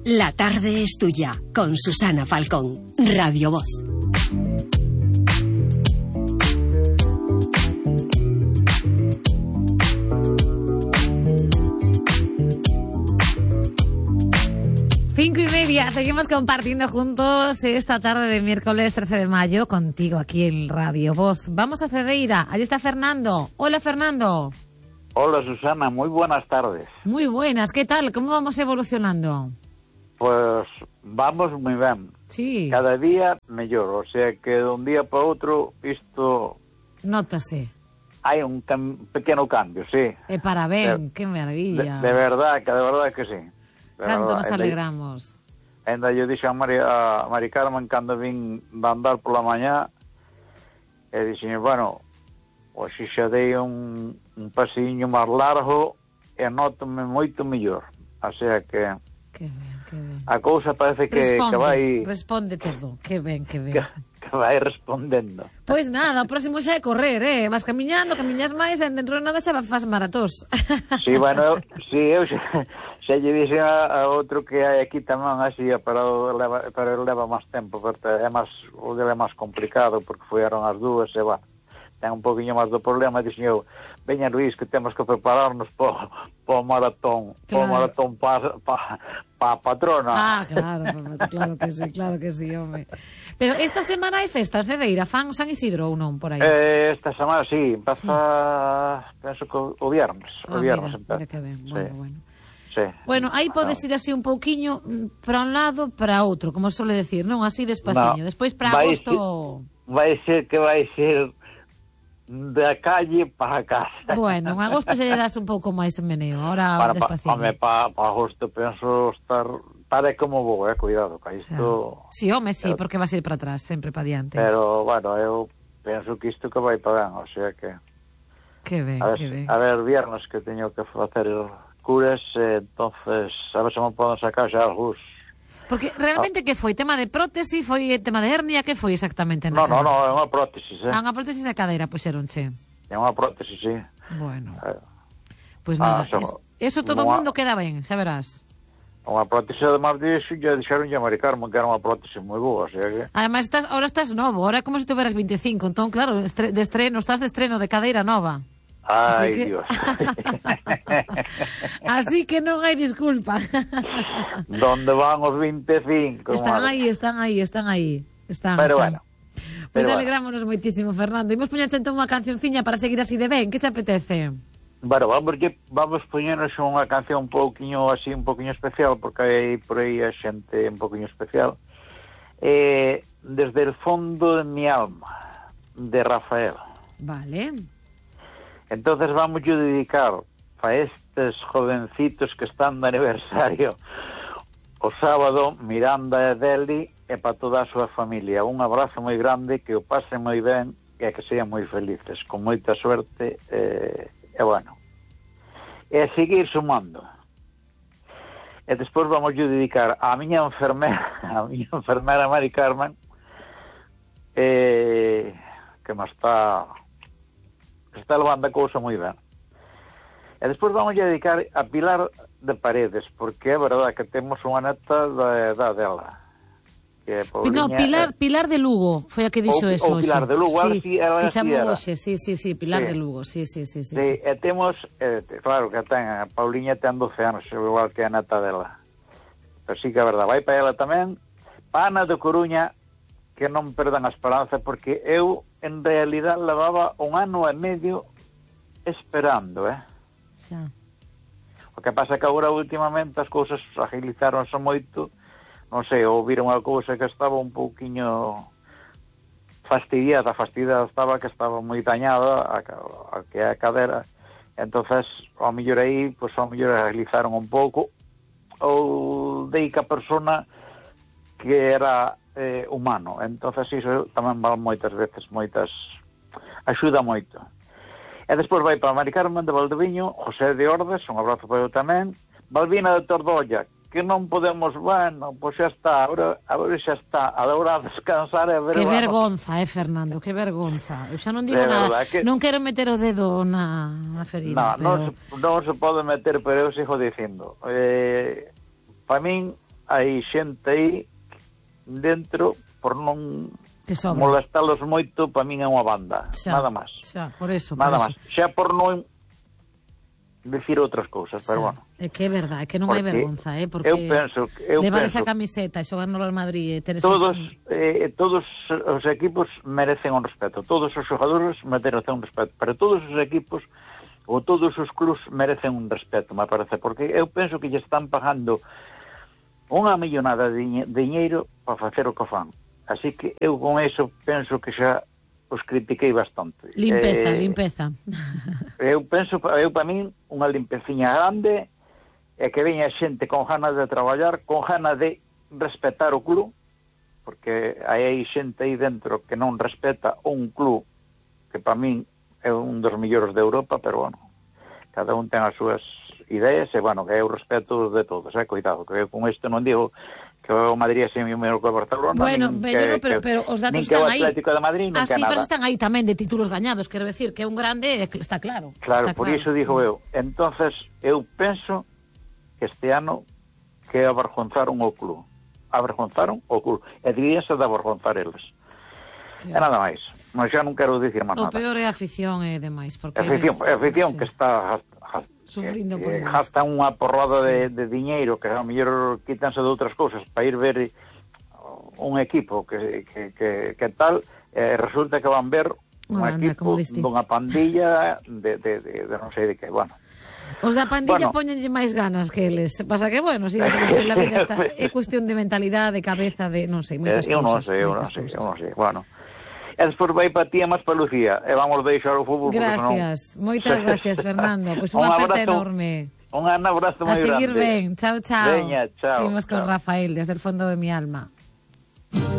La tarde es tuya, con Susana Falcón, Radio Voz. Cinco y media, seguimos compartiendo juntos esta tarde de miércoles 13 de mayo contigo aquí en Radio Voz. Vamos a Cedeira, allí está Fernando. Hola, Fernando. Hola, Susana, muy buenas tardes. Muy buenas, ¿qué tal? ¿Cómo vamos evolucionando? Pues vamos moi ben. Sí. Cada día mellor, o sea que de un día para outro isto... Nótase. Hai un pequeno cambio, sí. E parabén, que maravilla. De verdad que sí. Canto nos alegramos. Ainda yo dixo a Mari Carmen cando vin de andar pola mañá e dixen, bueno, hoxe xa dei un pasiño máis largo e nótome moito mellor. O sea que... Que ben, que ben. A cousa parece que vai... Responde todo, que ben, que ben. Que vai respondendo. Pois nada, o próximo xa é correr, vas camiñas máis e dentro de nada xa faz maratós. Sí, bueno, eu xa lle dixen a outro que hai aquí tamén así, pero leva máis tempo, porque o dele é máis complicado, porque fueron as dúas e ten un poquinho máis do problema, dixen eu, veña Luís, que temos que prepararnos para o maratón, claro. Para o maratón para a patrona. Claro que sí, home. Pero esta semana hai festa en Cedeira, fan San Isidro ou non, por aí? Esta semana sí, empeza, penso que o viernes. Mira que ben, bueno. Sí. Bueno, aí podes ir así un pouquiño para un lado, para outro, como suele decir, non? Así despaciño. Despois para agosto... Vai ser da calle para casa. Bueno, en agosto xa lle das un pouco máis meneo, ahora despaciño. Para agosto penso estar como vou, cuidado, que isto... Sí, home, sí, porque vas a ir para atrás, sempre para diante. Pero, bueno, eu penso que isto que vai para ben, o sea que... Que ben, que ben. A ver, viernes que teño que facer curas, entonces, a ver se me poden sacar xa algús. Porque realmente que foi? Tema de prótese? Foi tema de hernia? Que foi exactamente? No, é unha prótesis, unha prótesis de cadeira, puxeronche. É unha prótesis, sí. Bueno. Pois nada, eso todo o mundo queda ben, xa verás. Unha prótesis, además disso, ya dixeron a Mari Carmen que era unha prótesis moi boa, o sea que... Además, ahora estás novo, ahora é como se tuveras 25, entón, claro, estás de estreno de cadeira nova. Ai, Dios. Así que non hai disculpa. Donde van os 25? Están aí. Pero bueno. Pois alegrámonos moitísimo, Fernando. Imos poñerche entón unha cancionciña para seguir así de ben. Que te apetece? Bueno, vamos poñernos unha canción un poquinho especial, porque hai por aí a xente un poquinho especial. Desde el fondo de mi alma, de Rafael. Vale. Entonces vamos a dedicar a estes jovencitos que están de aniversario o sábado, Miranda e Deli, e para toda a súa familia. Un abrazo moi grande, que o pasen moi ben e que sean moi felices, con moita suerte, e bueno. E seguir sumando. E despois vamos a dedicar a miña enfermera Mari Carmen, que me está levando a cousa moi ben. E despois vamos a dedicar a Pilar de Paredes, porque é verdade que temos unha neta da edad dela. Que Pilar de Lugo, foi a que dixo eso. Pilar de Lugo, que chamou hoxe, sí, Pilar de Lugo, sí. E temos, claro que a Pauliña ten 12 anos, igual que a neta dela. Pero sí que é verdade, vai para ela tamén. Ana de Coruña, que non perdan a esperanza, porque eu en realidad levaba 1 ano e medio esperando, Xa. O que pasa que agora últimamente as cousas agilizaronse moito, non sei, ou viron a cousa que estaba un pouquiño fastidiada estaba, que estaba moi dañada a que a cadera, entonces ao mellor aí, pois ao mellor agilizaron un pouco, ou dei que a persona que era humano, entonces iso tamén vale moitas veces, axuda moito. E despois vai para Mari Carmen de Valdeviño, José de Ordes, un abrazo para eu tamén, Balbina de Tordolla, que non podemos, bueno, pois xa está, agora xa está, a hora de descansar e ver... Que vergonza, Fernando, que vergonza. Eu xa non digo nada, non quero meter o dedo na ferida. Non se pode meter, pero eu sigo dicindo. para min hai xente aí dentro por non molestalos moito, para min é unha banda, nada máis. Por eso. Xa por non decir outras cousas, pero bueno. É que é verdade, é que non hai vergonza, porque eu penso levar esa camiseta e xogar no Real Madrid, todos os equipos merecen un respeto, todos os xogadores merecen un respeto, pero todos os equipos ou todos os clubs merecen un respeto, me parece, porque eu penso que lle están pagando unha millonada de diñeiro para facer o que fan. Así que eu con eso penso que xa os critiquei bastante. Limpeza. Eu penso, para min, unha limpeciña grande é que veña xente con ganas de traballar, con ganas de respetar o club, porque hai xente aí dentro que non respeta un club que para min é un dos mellores de Europa, pero bueno, cada un ten as súas ideas e, bueno, que eu respeto de todos, cuidado, que eu con isto non digo que o Madrid é sempre o mellor que o Barcelona, bueno, pero os datos están aí. Nin que o Atlético de Madrid, nin que nada. As cifras están aí tamén de títulos gañados, quero decir que é un grande, está claro. Claro, por iso digo eu. Entonces, eu penso que este ano que avergonzaron o club. Avergonzaron o club. E diríase de avergonzar eles. E nada máis. Mas xa non quero dicir máis nada. O peor é a afición e demais. A afición que está sufrindo por eles. Gasta unha porrada de diñeiro que a mellor quítanse de outras cousas para ir ver un equipo que tal, resulta que van ver un equipo dunha pandilla de non sei de que, bueno. Os da pandilla poñenlle máis ganas que eles. Pasa que, bueno, si la vida está, é cuestión de mentalidade, de cabeza, de non sei, moitas cousas. Eu non sei, bueno. E despois vai para ti e máis para Lucía. E vamos deixar o fútbol. Gracias, moitas gracias, Fernando. Pois unha aperta enorme. Un abrazo moi grande. A seguir ben. Chao. Veña, chao. Seguimos con Rafael, desde el fondo de mi alma.